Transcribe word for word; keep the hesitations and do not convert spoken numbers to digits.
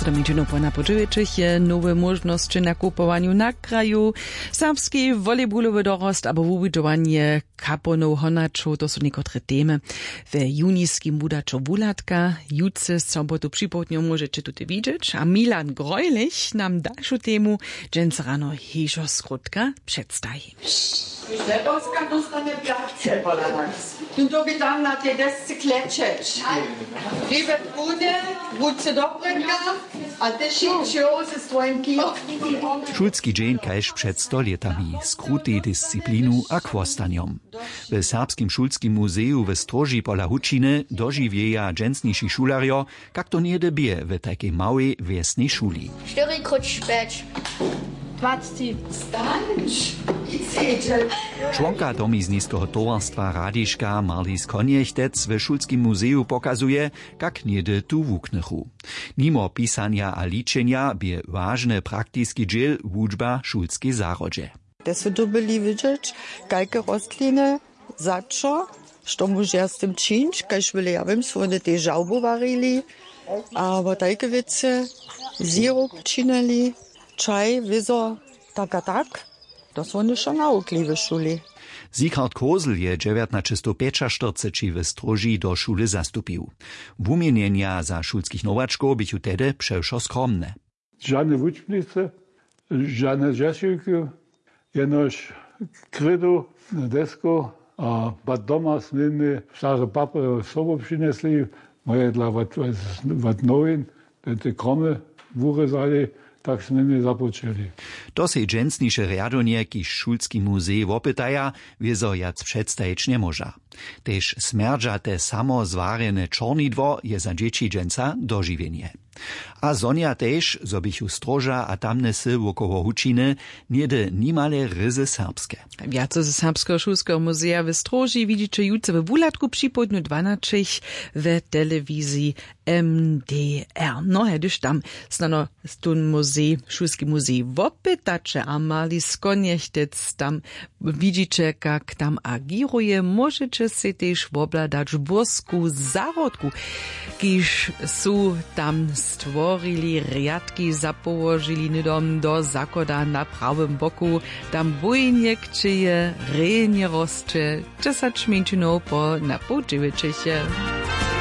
To mi dźenowpona po dźewjećich je nowe móžnosće na kupowanju na kraju, serbski volejbulowy dorost abo wubudźowanje kaponow honačow, to su někotre temy. We juniskim wudaćo wuhladka jutře sobotu připołdnju móžeće tute widźeć a milan grojlich nam dalšu temu dźensa rano hižo skrótka předstaji. Žlebowska dóstanje pjace pola nas. Tón to by tam na tej desce klečeć. Hribe bruny, ruce do brynka a ty šić ze swojim kijom. Šulski dźeń kaž před stolětami z krutej disciplinu a chłostanjom. W serbskim šulskim muzeju w stróži pola hučiny dožiwjeja dźensniši šulerjo, kak to něhdy bě w tajkej małej wjesnej šuli. Štyri króć pjeć. Dwacci. Stanč. Čłonka domizniskeho towarstwa radiška marlis konjechtec w šulskim muzeju pokazuje, kak něhdy tu wuknychu. Nimo pisanja a ličenja bě wažny praktiski dźěl wučba w šulskej zahrodźe. Te su dyrbili wědźeć, kajke rostliny, za čo, što móžeja z tym čińć, kaž wjele ja wěm su wone tež žałbu warili, abo tajke wěcy, zirop činili, čaj wězo, tak a tak. To su wone wšo nawukli w šuli. Sichard kosel je dźewjatnaćestowpjećaštyrceći w stróži do šule zastupił. Wuměnjenja za šulskich nowačkow běchu tehdy přewšo skromne. Žane wučbnicy, žane dźešiwki, jenož krydu, desku a bad doma směmy stare papy sobu přinjesli, moje dla wad nowin, te kromy wurězali, tak směmy započeli. To sej dźensniše rjadownje kiž šulski muzej wopytaja, wězo wjac předstajić njemóža. Tež smjerdźate samo zwarjene čornidło je za dźěći dźensa dožiwjenje. A zhonja tež zo běchu stróža a tamne wsy wokoło hučiny něhdy nimale ryzy serbske. Wjace ze serbskeho šulskeho muzeja w stróži widźiće jutře we wuhladku připołdnju dwanaćich w telewiziji. M D R no hdyž tam snano tón muzej šulski muzej wopytaće a marli skonjechtec tam widźiće kak tam agěruje móžeće sej tež wobhladać bórsku zahrodku, kiž su tam stworili rjadki zapołožili hnydom do zakłada na prawym boku. Tam bójnje kćeje rjenje rosće dźesać mjeńšinow po na poł dźewjećeche.